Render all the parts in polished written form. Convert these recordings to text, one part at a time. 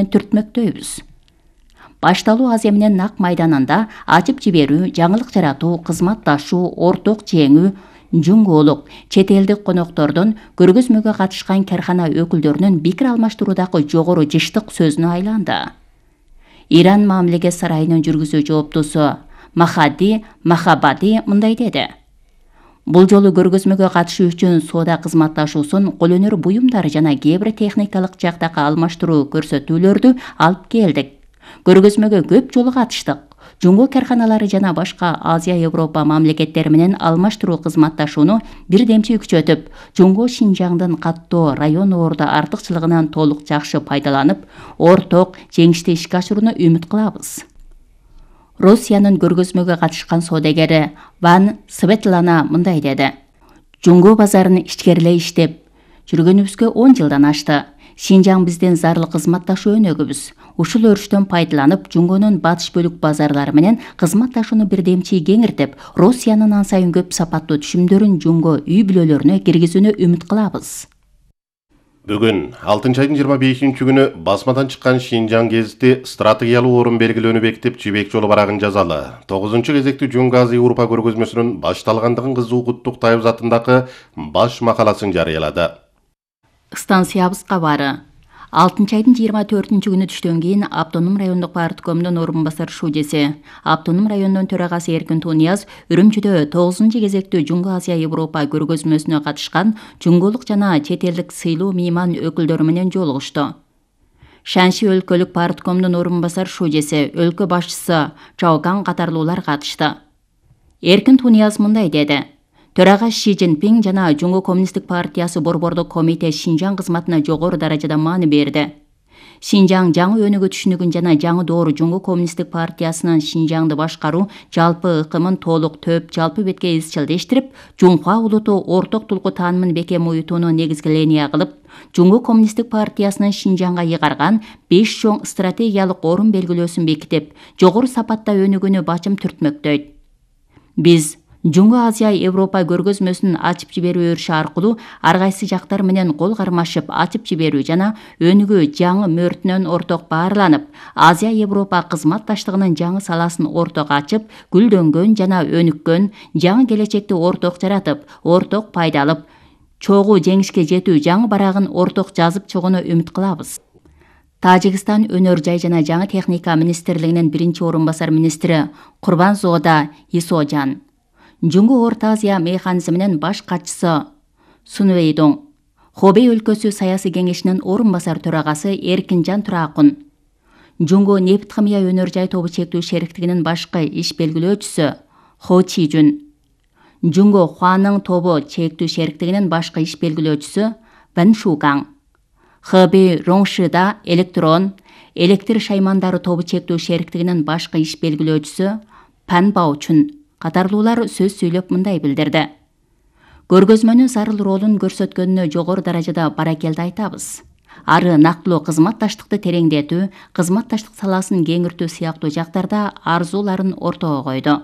түртмөктөйбүз. Башталуу Азия менен Нак майданында ачып жиберүү, жаңылык жаратуу, кызматташуу, орток жеңүү, жуңголук, чет элдик коноктордон көргөзмөгө катышкан кархана өкүлдөрүнүн пикир алмаштыруудагы жогору жыштык сөзүнө айланды. Иран мамлекет сарайынын жүргүзүү жооптусу Махади Махабади мындай деди. Бул жолу көргөзмөгө катышуу үчүн соода кызматташуусун, кол өнөр буюмдары жана кээ бир техникалык жактагы алмаштыруу көрсөтүүлөрдү алып келдик. Көргөзмөгө көп жолу катыштык. Жуңго карханалары жана башка Азия, Европа мамлекеттери менен алмаштыруу кызматташууну бирдемчи күчөтүп, Жуңго Шинжаңдын каттоо район ордо артыкчылыгынан толук жакшы пайдаланып, орток жеңиштүү ишке ашырууну үмүт кылабыз. Россиянын көргөзмөгө катышкан соодагери Ван Светлана мындай деди. Жуңго базарын ичкерилей иштеп жүргөнүбүзгө 10 жылдан ашты. Шинжаң биздин зарыл кызматташуу өнөгүбүз. Ушул өрүштөн пайдаланып, Жуңгонун батыш бөлүк базарлары менен кызматташууну бирдемчи кеңиртип, Россиянын ан сайын көп сапаттуу түшүмдөрүн Жуңго үй бүлөлөрүнө киргизүүнү үмүт кылабыз. Бүгүн 6 айдын 25-күнү басмадан чыккан Шинжаң гезити стратегиялуу орун белгилөөнү бекитип, Жибек жолу барагын жазалы. 9 кезектүү Жуңго Азия Европа көргөзмөсүнүн башталгандыгын кызуу куттуктайбыз атындагы баш макаласын жарыялады. Станциябызга бары 6 айдын 24-күнү түштөн кийин Автоном райондук парткомдун орун басар шудеси, Автоном районунун төрагасы Эркин Тунияз Үрүмчүдө 9 кезектүү Жуңго Азия Европа көргөзмөсүнө катышкан жуңголук жана чет элдик сыйлуу мейман өкүлдөрү менен жолугушту. Шанши өлкөлүк парткомдун орун басар шудеси, өлкө башчысы Чаокан катарлуулар катышты. Эркин Тунияз мындай деди. Төрага Ши Цзиньпин жана Жуңго Коммунисттик партиясы борбордук комитет Шинжаң кызматына жогору даражада маани берди. Шинжаң жаңы өнүгүү түшүнүгүн жана жаңы доору Жуңго Коммунисттик партиясынын Шинжаңды башкаруу жалпы ыкымын толук төп жалпы бетке изчилдештирип, Жунхуа улуту орток тулку таанымын бекем уютууну негизги линия кылып, Жуңго Коммунисттик партиясынын Шинжаңга ыйгарган 5 чоң стратегиялык орун белгилөөсүн бекитип, жогору сапатта өнүгүүнү бачым түртмөктөйт. Биз Жуңго Азия Европа көргөзмөсүн ачып жиберүү өрүшү аркылуу ар кайсы жактар менен кол кармашып ачып жиберүү жана өнүгүү жаңы мөөртүнөн орток баарланып, Азия Европа кызматташтыгынын жаңы саласын орток ачып, гүлдөнгөн жана өнүккөн жаңы келечекти орток жаратып, орток пайдалып, чогуу жеңишке жетүү жаңы барагын орток жазып чыгууну үмүт кылабыз. Тажикстан өнөр жай жана жаңы техника министрлигинин биринчи орун басар министри Курбанзода Исожан, Жуңго Орто Азия механизминин баш катчысы Сунвейдон, Хобей өлкөсү саясий кеңешинин орун басар төрагасы Эркинжан Туракун, Жуңго нефт химия өнөр жай тобу чектүү шериктигинин башкы иш белгилөөчүсү Хо Чижун, Жуңго Хуанын тобу чектүү шериктигинин башкы иш белгилөөчүсү Ван Шукаң, Хэбэй Роңшида электр шаймандары тобу чектүү шериктигинин башкы иш белгилөөчүсү Пан Баочун катарлуулар сөз сүйлөп мындай билдирди. Көргөзмөнүн зарыл ролун көрсөткөнүнө жогору даражада баракелди айтабыз. Ары нактылуу кызматташтыкты тереңдетүү, кызматташтык саласын кеңиртүү сыяктуу жактарда арзууларын ортого койду.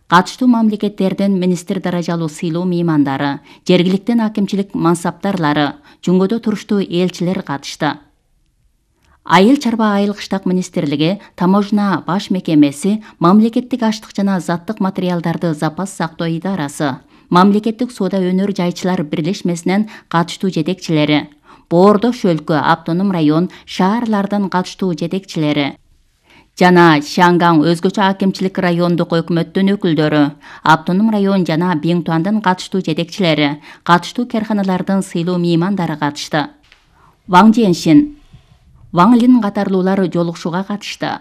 Катыштуу мамлекеттердин министр даражалуу сыйлуу меймандары, жергиликтен акимчилик мансаптарлары, Жуңгодо туруштуу элчилер катышты. Айыл чарба айыл кыштак министрлиги, таможня баш мекемеси, мамлекеттик аштык жана заттык материалдарды запас сактоо идарасы, мамлекеттик соода өнөр жайчылар бирлешмесинен катыштуу жетекчилери, Боордош өлкө, Автоном район, шаарлардын катыштуу жетекчилери жана Шангаң өзгөчө акимчилик райондук өкмөттүн өкүлдөрү, Автоном район жана Биңтуандын катыштуу жетекчилери, катыштуу карханалардын сыйлуу меймандары катышты. Ваң Женшин, Ваң Лин катарлуулар жолугушууга катышты.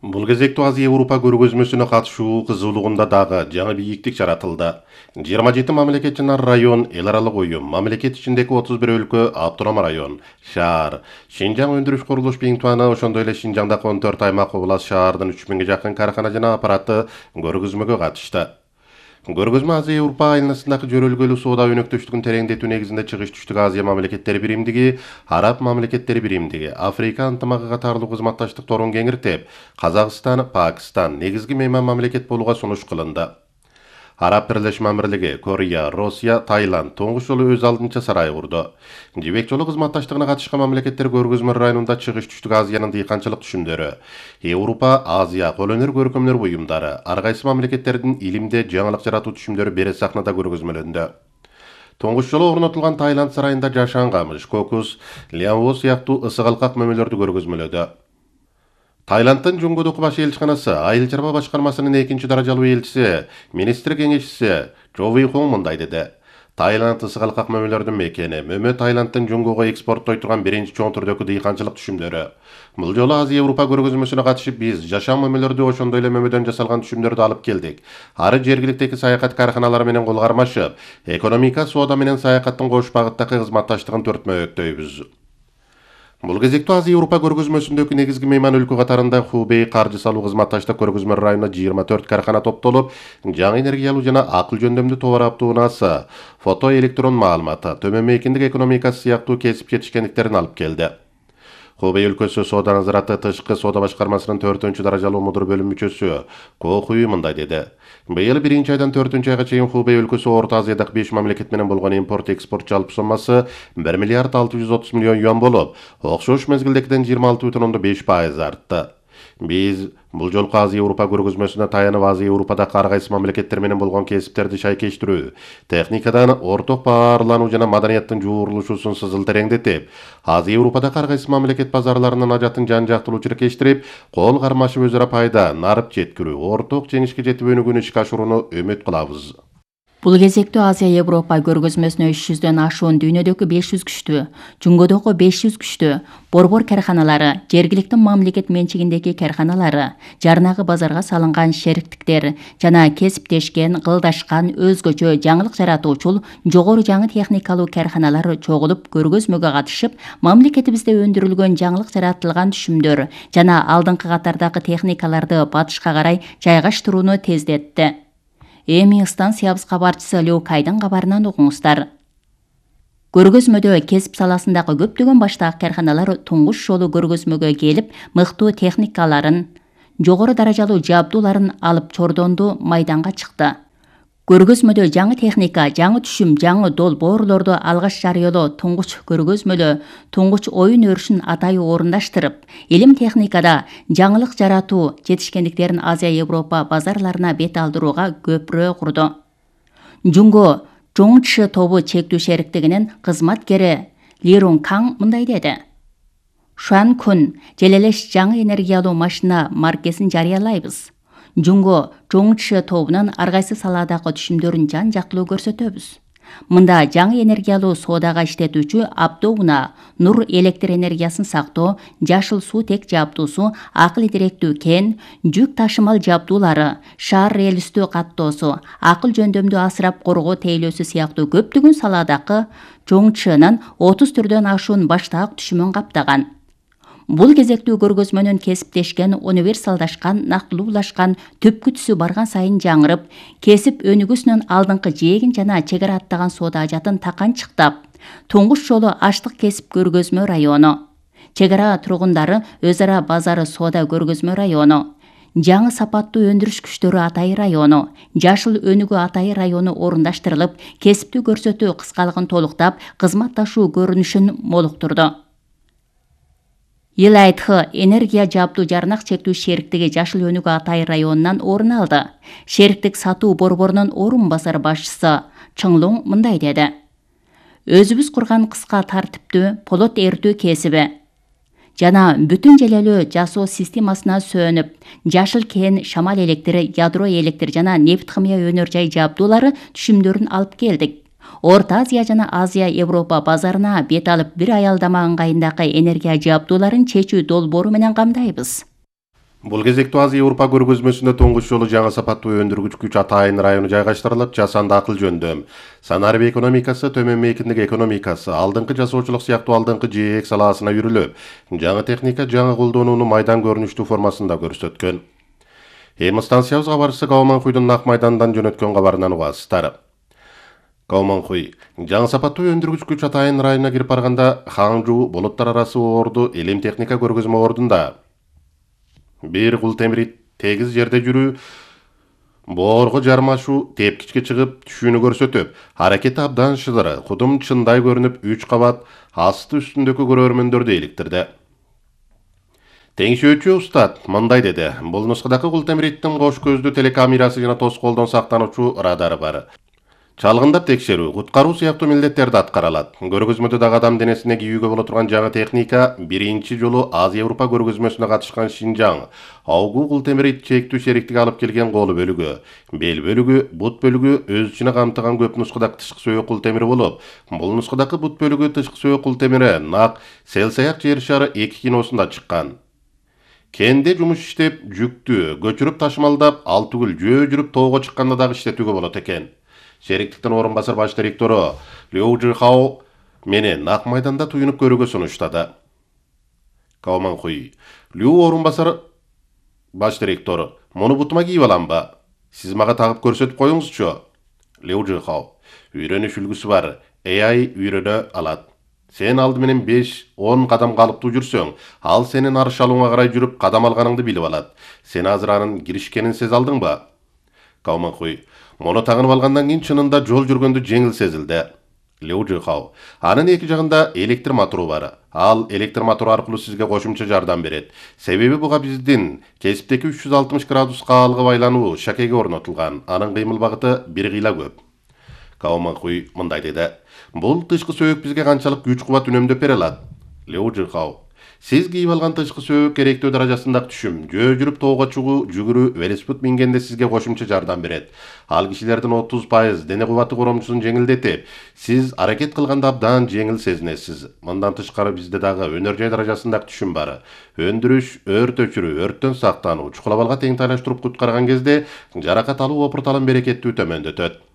Бул кезектүү Азия Европа көргөзмөсүнө катышуу кызуулугунда дагы жаңы бийиктик жаратылды. 27 мамлекет жана район, эл аралык уюм, мамлекет ичиндеги 31 өлкө, автоном район, шаар, Шинжаң өндүрүш курулуш Биңтуаны, ошондой эле Шинжаңдагы 14 аймак облас шаардын 3000ге жакын кархана жана аппараты көргөзмөгө катышты. Көргөзмө Азия Европа айланасындагы жөрөлгөлүү соода өнөктөштүгүн тереңдетүү негизинде Чыгыш Түштүк Азия мамлекеттери биримдиги, Араб мамлекеттери биримдиги, Африка ынтымагы катарлуу кызматташтыкторун кеңиртип, Казакстан, Пакистан негизги мейман мамлекет болууга сунуш кылынды. Араб Бирлешме Амирлиги, Корея, Россия, Таиланд туңгуч жолу өз алдынча сарай курду. Жибек жолу кызматташтыгына катышкан мамлекеттер көргөзмө районунда чыгыш түштүк Азиянын дыйканчылык түшүмдөрү, Европа, Азия, кол өнөр көркөмдөр буюмдары, ар кайсы мамлекеттердин илимде жаңылык жаратуу түшүмдөрү бере сахнада көргөзмөлөндү. Туңгуч жолу орнотулган Таиланд сарайында жашан камыш, кокус, лянво сыяктуу ысык алкак мөмөлөрдү көргөзмөлөдү. Таиланддын Жунгудук баш элчиканасы, Айыл чарба башкармасынын 2-даражалуу элчиси, министр кеңешчиси Чо Ви Хонг мындай деди. Таиланд ысык алкак мөмөлөрдүн мекени, мөмө Таиланддын Жунгуга экспорттой турган биринчи чоң түрдөгү дыйканчылык түшүмдөрү. Бул жолу Азия Европа көргөзмөсүнө катышып биз жашан мөмөлөрдү ошондой эле мөмөдөн жасалган түшүмдөрдү алып келдик. Ары жергиликтеги саякат карканалары менен кол кармашып, экономика, соода менен саякаттын кош багыттагы кызматташтыгын төртмөктөйбүз. Бул кезекте Азия Европа көргөзмөсүндөгү негизги мейман өлкө катарында Хубей каржы салуу кызматташтык көргөзмө районуна 24 каркана топтолуп, жаңы энергиялуу жана акыл жөндөмдүү товар автоунаасы, фото электрон маалыматы, төмөн мейкиндик экономикасы сыяктуу кесип жетишкендиктерин алып келди. Хубей өлкөсү соода назараты тышкы соода башкармасынын 4-даражалуу мудур бөлүм мүчөсү Ко Хуй мындай деди. Быйыл 1-айдан 4-айга чейин Хубей өлкөсү Орто Азиядагы 5 мамлекет менен болгон импорт-экспорт жалпы соммасы 1 миллиард 630 миллион юан болуп, окшош мезгилдегиден 26,5% артты. Биз бул жолку Азия Европа көргөзмөсүнө таянып Азия Европадагы ар кайсы мамлекеттер менен болгон кесиптерди шайкештирүү, техникадан орток баарлануу жана маданияттын жуурулушуусун сызыл тереңдетип, Азия Европадагы ар кайсы мамлекет базарларынын ажатын жан-жактылуу чиркештирип, кол кармашып өзара пайда, нарып жеткирүү, орток жеңишке жетип өнүгүүнү ишке ашырууну үмүт кылабыз. Бул кезекте Азия Европа көргөзмөсүнө 300дөн ашуун дүйнөдөгү 500 күчтүү, Жунгодогу 500 күчтүү борбор карканалары, жергиликтүү мамлекет менчигиндеги карканалары, жарнагы базарга салынган шериктиктер жана кесиптешкен, кылдашкан, өзгөчө жаңылык жаратуучул жогору жаңы техникалуу карканалар чогулуп көргөзмөгө катышып, мамлекетибизде өндүрүлгөн жаңылык жаратылган түшүмдөр жана алдыңкы катардагы техникаларды батышка карай жайгаштырууну тездетти. Эми станциябыз кабарчысы Лю Кайдын кабарынан угуңуздар. Көргөзмөдө кесип саласындагы көптөгөн баштагы карканалар туңгуч жолу көргөзмөгө келип, мыктуу техникаларын, жогору даражалуу жабдууларын алып чордонду, майданга чыкты. Көргөзмөдө жаңы техника, жаңы түшүм, жаңы долбоорлорду алгаш жарыялоо туңгуч көргөзмөлө туңгуч оюн өрүшүн атайы орундаштырып, илим техникада жаңылык жаратуу жетишкендиктерин Азия Европа базарларына бет алдырууга көпүрө курду. Жунго Жоңчы тобу чектүү шериктигинин кызматкери Ли Рун Кан мындай деди. Шуан күн желелеш жаңы энергиялуу машина маркесин жарыялайбыз. Жунго Жоңчы тобунун ар кайсы саладагы түшүмдөрүн жан-жактылуу көрсөтөбүз. Мында жаңы энергиялуу соодага иштетүүчү автоунаа, нур электр энергиясын сактоо, жашыл суутек жабдуусу, акыл директүү кен, жүк ташымал жабдуулары, шаар релистүү каттоосу, акыл жөндөмдүү асырап коргоо тейлөөсү сыяктуу көптөгөн саладагы Жоңчынын 30 түрдөн ашуун баштаак түшүмүн каптаган. Бул кезектүү көргөзмөнүн кесиптешкен, универсалдашкан, нактылуулашкан, түпкү түсү барган сайын жаңырып, кесип өнүгүүсүнүн алдыңкы жээгин жана чек ара аттаган соода ажатын таканчыктап, туңгуч жолу аштык кесип көргөзмө району, чек ара тургундары өз ара базары соода көргөзмө району, жаңы сапаттуу өндүрүш күчтөрү атайы району, жашыл өнүгүү атайы району орундаштырылып, кесиптүү көрсөтүү кыскалыгын толуктап, кызматташуу көрүнүшүн молуктурду. Илайтхы энергия жабдуу жарнак чектүү шериктиги жашыл өнүгүү атайы районунан орун алды. Шериктик сатуу борборунун орун басар башчысы Чыңлуң мындай деди. Өзүбүз курган кыска тартиптүү полот эртүү кесиби жана бүтүн желелүү жасоо системасына сөөнүп, жашыл кен, шамал электри, ядро электр жана нефт химия өнөр жай жабдуулары түшүмдөрүн алып келдик. Орто Азия жана Азия Европа базарына бет алып бир аялдама ыңгайындагы энергия жабдууларын чечүү долбоору менен камдайбыз. Бул кезектүү Азия Европа көргөзмөсүндө туңгуч жолу жаңы сапаттуу өндүргүч күч атайын району жайгаштырылып, жасанды акыл жөндөм, санарип экономикасы, төмөн мейкиндик экономикасы, алдыңкы жасоочулук сыяктуу алдыңкы жээк салаасына үйрүлүп, жаңы техника, жаңы колдонууну майдан көрүнүштүү формасында көрсөткөн. Эми станциябыз кабарчысы Гао Манхуйдун Нак майдандан жөнөткөн кабарынан угасыздар. Гао Манхуй жаңы сапаттуу өндүргүч күч атайын районуна кирип барганда Ханжу булуттар арасы орду илим техника көргөзмө ордунда бир кул темири тегиз жерде жүрүү Боорго жармашуу тепкичке чыгып түшүүнү көрсөтүп, аракети абдан шыдыр, кудум чындай көрүнүп 3 кабат асты үстүндөгү көрөрмөндөрдү иликтирди. Теңшөөчү устат мындай деди: бул нускадагы култемириттин кош көздүү телекамерасы жана тоскоолдон сактануучу радары бар. Чалгындап текшерүү, куткаруу сыяктуу милдеттерди аткаралат. Көргөзмөдө дагы адам денесине кийүүгө боло турган жаңы техника, биринчи жолу Азия-Европа көргөзмөсүнө катышкан Шинжаң, Аугу култемирит чектүү шериктиги алып келген колу бөлүгү, бел бөлүгү, бут бөлүгү өз ичине камтыган көп нускадагы тышкы сөөк култемири болуп, бул нускадагы бут бөлүгү тышкы сөөк култемири нак Селсаяк жер шары 2 киносунда чыккан. Кенде жумуш иштеп, жүктү көчүрүп ташымалдап, ал түгүл жөө жүрүп тоого чыкканда дагы иштетүүгө болот экен. Шериктиктин орун басар баш директору Лю Жихао менен Ак майданда туюнуп көрүүгө сунуштады. Као Манхуй: Лю орун басар баш директору, муну бутума кийип аламбы? Сиз мага тагып көрсөтүп коюңузчу. Лю Жихао: Үйрөнүш үлгүсү бар, AI үйрөнө алат. Сен алды менен 5-10 кадам калыптуу жүрсөң, ал сенин арышалууңа карай жүрүп кадам алганыңды билип алат. Сен азыр анын киришкенин сезе алдыңбы? Као Манхуй: Мону тагынып алгандан кийин чынында жол жүргөндө жеңил сезилди. Лю Жихао: Анын эки жагында электр мотору бар. Ал электр мотору аркылуу сизге кошумча жардам берет. Себеби буга биздин кесиптеги 360 градуска алгы байлануу шакеге орнотулган. Анын кыймыл багыты бир кыйла көп. Као Манхуй мындай деди: Бул тышкы сөөк бизге канчалык күч кубат үнөмдөп бере алат? Лю Жихао: Сиз кийип алган тышкы сөөк керектөө даражасындагы түшүм, жөө жүрүп тоого чыгуу, жүгүрүү, велосипед мингенде сизге кошумча жардам берет. Ал кишилердин 30% дене кубаты коромчусун жеңилдетип, сиз аракет кылганда абдан жеңил сезинесиз. Мындан тышкары бизде дагы өнөр жай даражасындагы түшүм бар. Өндүрүш, өрт өчүрүү, өрттөн сактануу, чукулабалга тең тайлаштырып куткарган кезде жаракат алуу опурталын берекеттүү төмөндөтөт.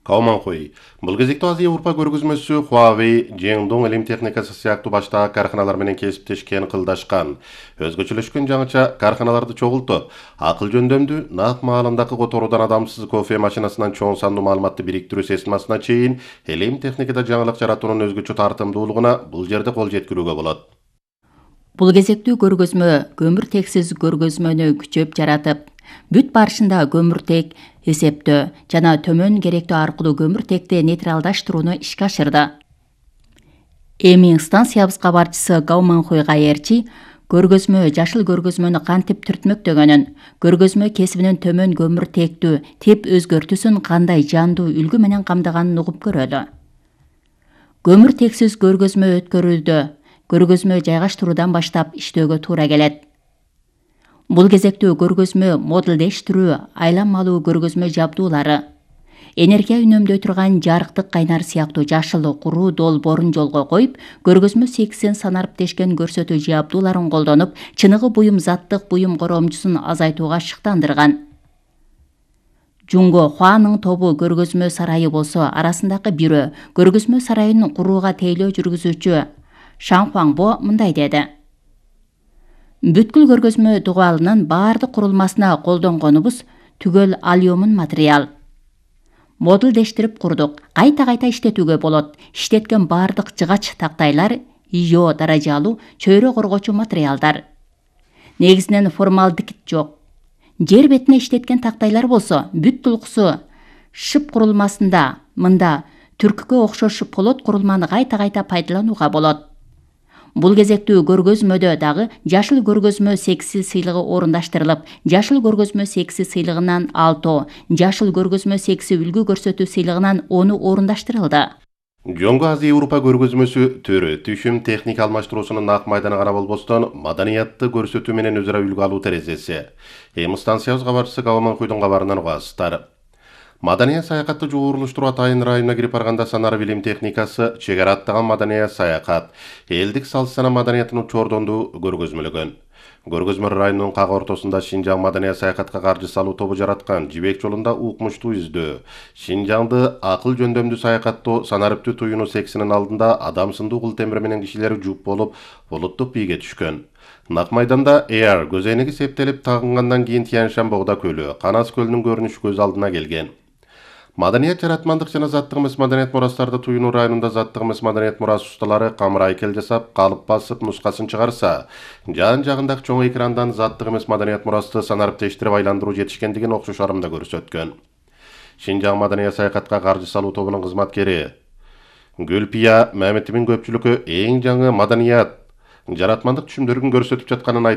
Као Манхуй: Бул кезекте Азия-Европа көргөзмөсү Huawei, Jingdong илим техникасы сыяктуу баштагы карканалар менен кесиптешкен, кылдашкан. Өзгөчөлөшкөн жаңыча карканаларды чогултуп, акыл жөндөмдүү, нак маалындагы которуудан адамсыз кофе машинасынан чоң сандуу маалыматты бириктирүү системасына чейин илим техникада жаңылык жаратуунун өзгөчө тартымдуулугуна бул жерде кол жеткирүүгө болот. Бул кезектүү көргөзмө көмүртексиз көргөзмөнү күчөп жаратып, бүт барышында көмүртек эсептөө жана төмөн керектөө аркылуу көмүртекти нейтралдаштырууну ишке ашырды. Эми станциябыз кабарчысы Као Манхуй кайерчи көргөзмө жашыл көргөзмөнү кантип түртмөктөгөнүн, көргөзмө кесибинин төмөн көмүртектүү тип өзгөртүүсүн кандай жандуу үлгү менен камдаганын угуп көрөлү. Көмүртексиз көргөзмө өткөрүүдө көргөзмө жайгаштыруудан баштап иштөөгө туура келет. Бул кезектүү көргөзмө модулдештирүү, айланмалуу көргөзмө жабдуулары, энергия үнөмдөй турган жарыктык кайнар сыяктуу жашыл куруу долбоорун жолго коюп, көргөзмө сексин санарып тешкен көрсөтүү жабдууларын колдонуп, чыныгы буюм заттык буюм коромчусун азайтууга шыктандырган. Жунго Хуанын тобу көргөзмө сарайы болсо арасындагы бирөө, көргөзмө сарайын курууга тейлөө жүргүзүүчү Шан Хуаңбо мындай деди: Бүткүл көргөзмө дугуалынын баардык курулмасына колдонгонубуз түгөл алюмин материал. Модулдештирип курдук, кайта-кайта иштетүүгө болот. Иштеткен баардык жыгач тактайлар ИО даражалуу чөйрө коргоочу материалдар. Негизинен формалдегид жок. Жер бетине иштеткен тактайлар болсо бүт тулкусу шып курулмасында мында түркүккө окшош полот курулманы кайта-кайта пайдаланууга болот. Бул кезектүү көргөзмөдө дагы жашыл көргөзмө секси сыйлыгы орундаштырылып, жашыл көргөзмө секси сыйлыгынан 6, жашыл көргөзмө секси үлгү көрсөтүү сыйлыгынан 10 орундаштырылды. Жоңго Азия-Европа көргөзмөсү төрө түшүм техника алмаштыруусунун ак майданы гана болбостон, маданиятты көрсөтүү менен өзара үлгү алуу терезеси. Эми станциябыз кабарчысы Као Манхуйдун кабарынан угасыздар. Маданият саякатты жогорулуштуруу Атайын районуна кирип барганда санар билим техникасы, чегара аттаган маданият саякат, элдик салт сана маданиятын чордонду көргөзмөлөгөн. Көргөзмө районунун как ортосунда Шинжаң маданият саякатка каржы салуу тобу жараткан жибек жолунда укмуштуу издөө. Шинжаңды акыл жөндөмдүү саякаттоо санариптүү туюну сексинин алдында адам сындуу култемир менен кишилери жуп болуп, булуттук бийге түшкөн. Нак майданда Эйар көзөйнеги септелип тагынгандан кийин Тянь-Шань Богда көлү, Канас көлүнүн көрүнүшү көз алдына келген. Маданият жаратмандык жана заттык эмес маданият мурастарды туюнуу районунда заттык эмес маданият мурасы усталары камыр айкел жасап, калып басып, нускасын чыгарса, жан-жагындагы чоң экрандан заттык эмес маданият мурасты санариптештирип айландыруу жетишкендигин окшош арымда көрсөткөн. Шинжаң маданият саякатка каржы салуу тобунун кызматкери Гүлпия Мамедовдун көпчүлүккө эң жаңы маданият жаратмандык түшүмдөрүн көрсөтүп жатканын айтып,